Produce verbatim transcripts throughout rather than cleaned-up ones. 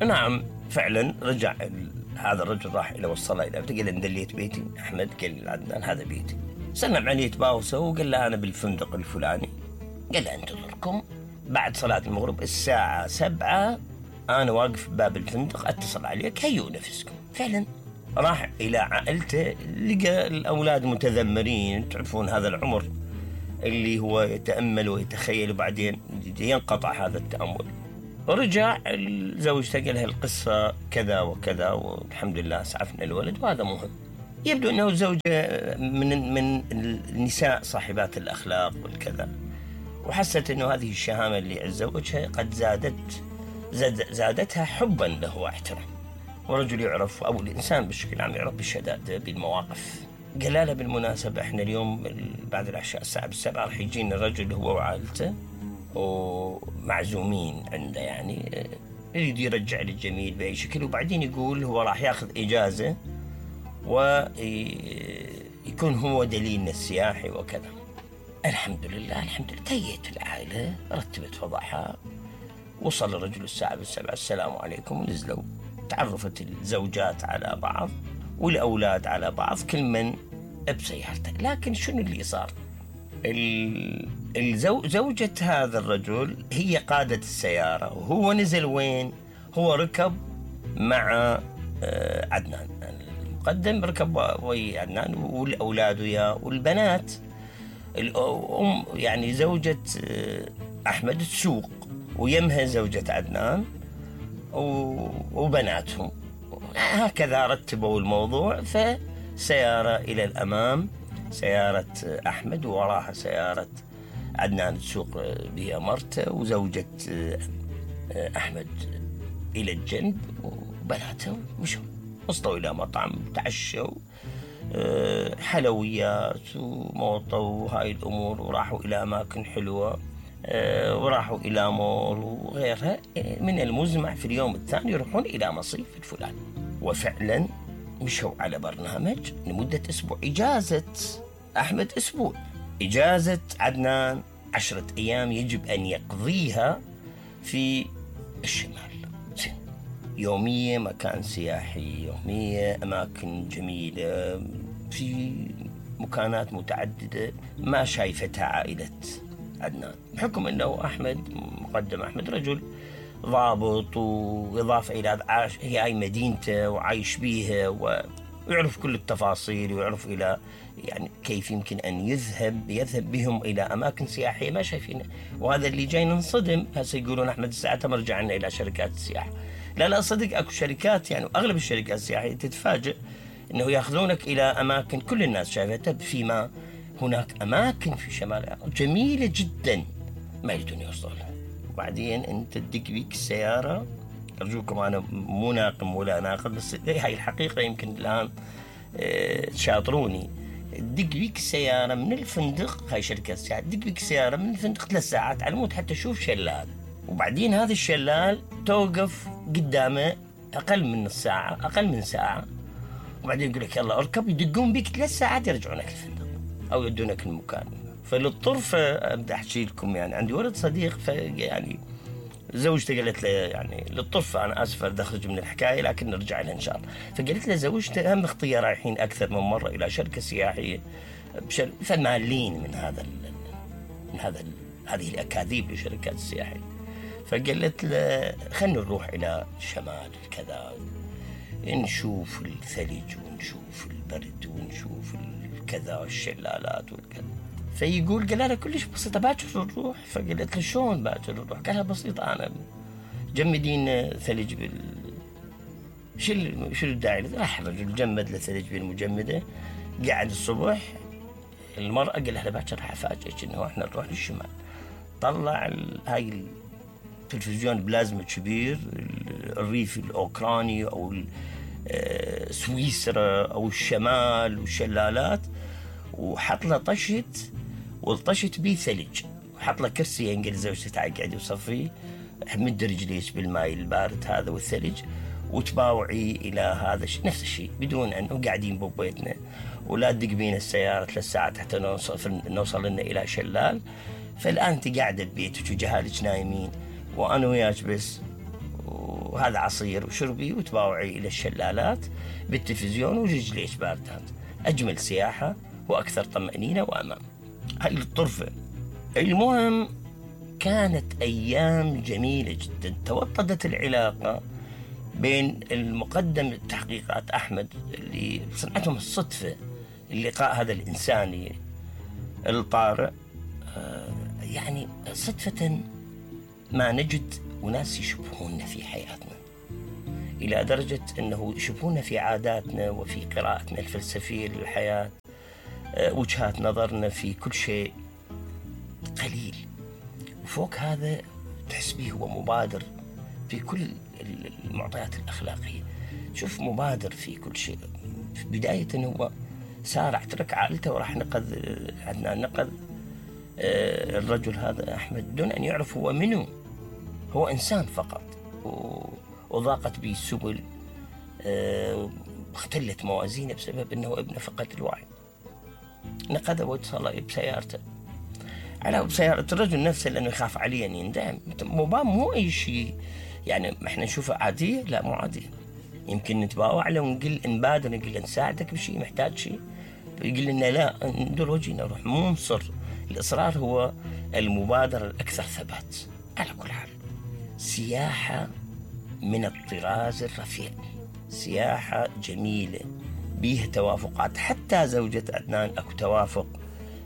نعم فعلا رجع هذا الرجل، راح إلى وصله إلى بيته، قال له دليت بيتي أحمد، قال له عدنان هذا بيتي. سلم عليه تباوسه وقال له أنا بالفندق الفلاني. قال له انتظركم بعد صلاة المغرب الساعة سبعة أنا واقف بباب الفندق أتصل عليك، هيئوا نفسكم. فعلا راح إلى عائلته، لقى الأولاد متذمرين، تعرفون هذا العمر اللي هو يتأمل ويتخيل وبعدين ينقطع هذا التأمل. ورجع زوجته قال لها القصة كذا وكذا والحمد لله اسعفنا الولد، وهذا مهم. يبدو أنه زوجة من من النساء صاحبات الأخلاق والكذا، وحست أنه هذه الشهامة اللي عند زوجها قد زادت زاد زادتها حبا له واحترام. ورجل يعرف أو الإنسان بشكل عام يعرف بالشدائد بالمواقف. قال لها بالمناسبة احنا اليوم بعد العشاء الساعة بالسبعة راح يجينا الرجل هو وعائلته ومعزومين عنده، يعني يريد يرجع للجميل بأي شكل، وبعدين يقول هو راح ياخذ إجازة ويكون هو دليلنا السياحي وكذا. الحمد لله الحمد لله تهيئت العائلة، رتبت فضحها، وصل الرجل الساعة بالسبعة السلام عليكم، ونزلوا. تعرفت الزوجات على بعض والأولاد على بعض، كل من بسيارته. لكن شنو اللي صار؟ زوجة هذا الرجل هي قادة السيارة، وهو نزل وين؟ هو ركب مع عدنان المقدم، ركب ويا عدنان والأولاد وياه والبنات. الأم يعني زوجة أحمد تسوق، ويمها زوجة عدنان وبناتهم. هكذا رتبوا الموضوع. فسيارة إلى الأمام سيارة أحمد، ووراها سيارة عدنان تسوق بها مرته، وزوجة أحمد إلى الجنب وبناته. مشوا وصلوا إلى مطعم، تعشوا حلويات وموطة وهاي الأمور، وراحوا إلى أماكن حلوة، وراحوا إلى مول وغيرها. من المزمع في اليوم الثاني يروحون إلى مصيف الفلاني. وفعلا مشوا على برنامج لمدة أسبوع. إجازة أحمد أسبوع، إجازة عدنان عشرة أيام يجب أن يقضيها في الشمال. يومية مكان سياحي، يومية أماكن جميلة في مكانات متعددة ما شايفتها عائلة عدنان، بحكم أنه أحمد مقدم أحمد رجل ضابط، وإضافة إلى عاش هي هاي مدينته وعايش بيها ويعرف كل التفاصيل، ويعرف إلى يعني كيف يمكن أن يذهب يذهب بهم إلى أماكن سياحية ما شايفينها. وهذا اللي جاي ننصدم. هسه يقولون أحمد الساعة مرجع لنا إلى شركات السياحة. لا لا صدق أكو شركات، يعني أغلب الشركات السياحية تتفاجئ أنه يأخذونك إلى أماكن كل الناس شايفتها، فيما هناك أماكن في شمال العراق جميلة جدا ما يجدون يوصلها. وبعدين أنت تدق بيك السيارة، أرجوكم أنا مو ناقم ولا ناقد، بس هاي الحقيقة يمكن الآن تشاطروني. تدق بيك السيارة من الفندق، هاي شركة السياحة، تدق بيك السيارة من الفندق ثلاث ساعات على مود حتى تشوف شلال، وبعدين هذا الشلال توقف قدامه أقل من نص ساعة، أقل من ساعة، وبعدين يقول لك يلا اركب، يدقون بيك ثلاث ساعات يرجعونك الفندق أو يدونك المكان. فللطرفة أبدأ أحكي لكم، يعني عندي ولد صديق، فيعني زوجته قالت له يعني للطرفة أنا آسف أخرج من الحكاية لكن نرجع لها إن شاء الله. فقالت له زوجته هم اختي رايحين أكثر من مرة إلى شركة سياحية بشر... فمالين من هذا ال... من هذا ال... هذه الأكاذيب للشركات السياحية. فقالت له خلنا نروح إلى شمال كذا، نشوف الثلج ونشوف البرد ونشوف الكذا والشلالات والكذا. فيقول قال لها كلش بسيطة باكر نروح. فقالت له شلون باكر نروح؟ قالها بسيطة أنا جمدين ثلج بال شو شو الداعي؟ راح الرجل جمد له ثلج بالمجمدة، قاعد الصبح المرأة قال لها باكر راح أفاجئك إنه إحنا نروح للشمال. طلع هاي التلفزيون بلازما كبير، الريف الأوكراني أو سويسرا أو الشمال والشلالات، وحط له طشت والطشت بيه ثلج، وحط له كرسي ينقل زوجته تقعد وصفيه، مد رجليك بالماء البارد هذا والثلج وتباوعي إلى هذا الشيء نفس الشيء، بدون أنه قاعدين ببيتنا ولا تدق بينا السيارة ثلاث ساعات حتى نوصل نوصل لنا إلى شلال. فالآن أنت قاعدة ببيتك وجهالك نايمين وأنا وياك بس، وهذا عصير وشربي وتباوعي إلى الشلالات بالتلفزيون ورجليش باردات. أجمل سياحة وأكثر طمأنينة وأمان. هاي الطرفة. المهم كانت أيام جميلة جدا. توطدت العلاقة بين المقدم التحقيقات أحمد اللي صنعتهم الصدفة اللقاء هذا الإنساني الطارئ. يعني صدفة ما نجد أناس يشبهوننا في حياتنا، إلى درجة أنه يشبهوننا في عاداتنا وفي قراءتنا الفلسفية للحياة، وجهات نظرنا في كل شيء قليل. وفوق هذا تحس به هو مبادر في كل المعطيات الأخلاقية. شوف مبادر في كل شيء. بداية هو سارع ترك عائلته وراح نقذ عدنان، نقذ الرجل هذا أحمد دون أن يعرف هو منه. هو إنسان فقط، وضاقت به السبل، اختلت موازينه بسبب أنه ابنه فقد الوعي. نقذه واتصل بسيارته على بسيارة الرجل نفسه لأنه يخاف عليه أن يندم. مبام مو أي شيء يعني احنا نشوفها عادية، لا مو عادية. يمكن نتباوع له ونقول نبادر، نقول له نساعدك بشيء، محتاج شيء، يقول لنا لا ندور وجهنا نروح. مو مصر. الإصرار هو المبادرة الأكثر ثبات. على كل حال سياحة من الطراز الرفيع، سياحة جميلة بيها توافقات. حتى زوجة عدنان أكو توافق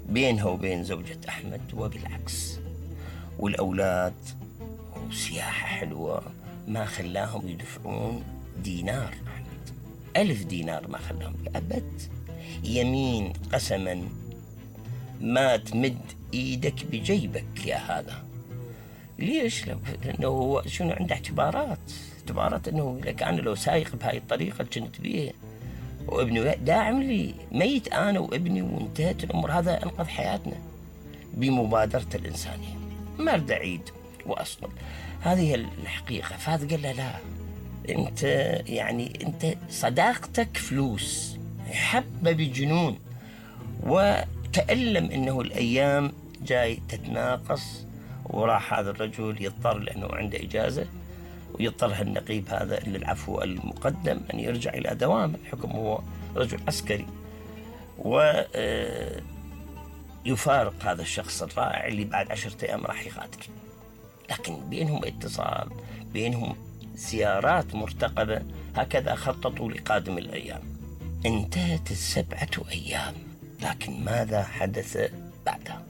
بينها وبين زوجة أحمد وبالعكس، والأولاد. وسياحة حلوة ما خلاهم يدفعون دينار. أحمد ألف دينار ما خلاهم أبد. يمين قسما ما تمد إيدك بجيبك يا هذا. ليش؟ لأنه هو شنو عنده اعتبارات اعتبارات أنه لك أنا لو سايق بهاي الطريقة كنت بيه وابني داعم لي ميت أنا وابني وانتهت الأمور. هذا أنقذ حياتنا بمبادرة الإنسانية. ما أريد أعيد وأصل، هذه هي الحقيقة. فهذا قال له لا، أنت يعني أنت صداقتك فلوس. حبه بجنون وتألم أنه الأيام جاي تتناقص، وراح هذا الرجل يضطر لأنه عنده إجازة، ويضطر النقيب هذا للعفو المقدم أن يرجع إلى دوام الحكم. هو رجل عسكري، ويفارق هذا الشخص الرائع اللي بعد عشرة أيام راح يغادر. لكن بينهم اتصال، بينهم زيارات مرتقبة. هكذا خططوا لقادم الأيام. انتهت السبعة أيام، لكن ماذا حدث بعدها؟